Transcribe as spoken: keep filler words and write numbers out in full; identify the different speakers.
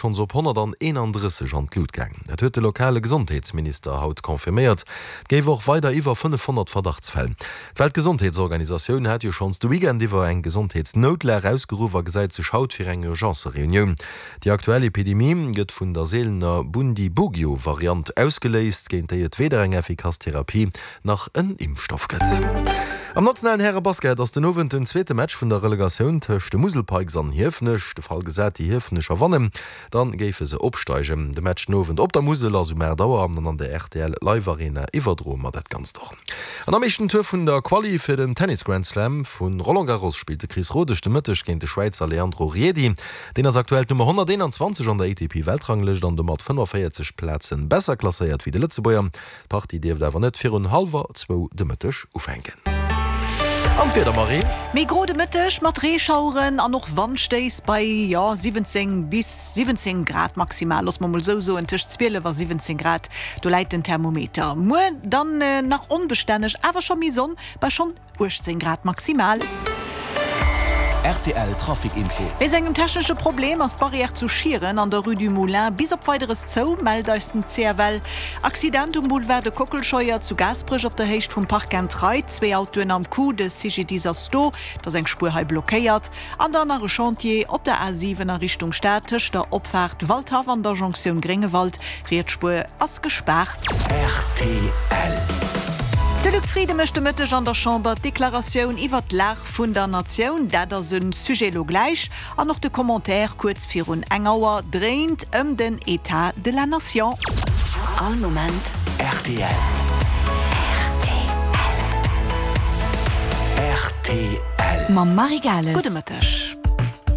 Speaker 1: schonns op honnerteenandrësseg an d'Lut gaang. Dat huet de lokale Gesondheetsminister haut confirméiert. Et géif och weider iwwer fënnefhonnert Verdachtsfäll. D'Weltgesondheetsorganisatioun hat jo schonns de Weekend iwwer eng Gesondheetsnoutlag ausgeruff a gesäit sech haut fir eng Urgence-Reunioun. Déi aktuell Epidemie gëtt vun der seelener Bundibugyo-Variant ausgeléist, géint déi et weder eng effikass Therapie nach en Impfstoff gëtt. Am nationalen Häre-Basket ass den Owend den zweete Match vun der Relegatioun tëscht de Musel Pikes an Hiefenech. De Fall gesat, déi Hiefenecher wannen, dann géife se opsteigen. De Match den Owend op der Musel ass um aacht Auer an an der rtl Live Arena iwwerdroe mer dat Ganzt och. An am éischten Tour vun der Quali fir den Tennis Grand Slam vu Roland Garros spillt de Chris Rodesch de Mëtteg géint de Schwäizer Leandro Riedi. Deen ass aktuell d'Nummer honnerteenanzwanzeg an der A T P-Weltranglëscht an domat fënnefenvéierzeg Plaze besser klasséiert wéi de Lëtzebuerger. D'Partie dierft awer net virun hallwer zwou de Mëtteg ufänken. An d'Wieder, Marie?
Speaker 2: Méi gro de Mëtteg mat Reeschaueren an och Wandstéiss bei, jo, siwwenzéng bis siwwenzéng Grad maximal, loosse mer mol esou soen, tëscht zwielef a siwwenzéng Grad, do läit den Thermometer. Muer dann nach onbestänneg, awer scho méi Sonn bei schonn uechtzéng Grad maximal.
Speaker 3: R T L Trafic Info.
Speaker 2: Wéinst engem technesche Problem ass d'Barrière zu Schieren an der Rue du Moulin bis op Weideres zou, mellt eis den C F L. Accident um Boulevard de Kockelscheuer zu Gaasperech op der Héicht vum Park and Ride, zwee Autoen am Coup, de C G D I S ass do, et ass eng Spuer hei blockéiert. An dann nach e Chantier op der A siwen a Richtung Stad tëscht der Opfaart Waldhaff an der Jonktioun Gréngewald, riets Spuer ass gespaart.
Speaker 3: R T L.
Speaker 2: De Luc Frieden mécht de Mëtteg an der Chamber d'Deklaratioun iwwer d'Lag vun der Natioun. Dat ass e Sujet lo gläich. An och de Commentaire kuerz virun eng Auer dréint ëm den État de la Nation.
Speaker 4: All Moment
Speaker 3: R T L.
Speaker 4: R T L.
Speaker 3: R T L.
Speaker 4: Mam Marie Gales.
Speaker 2: Gudde Mëtteg.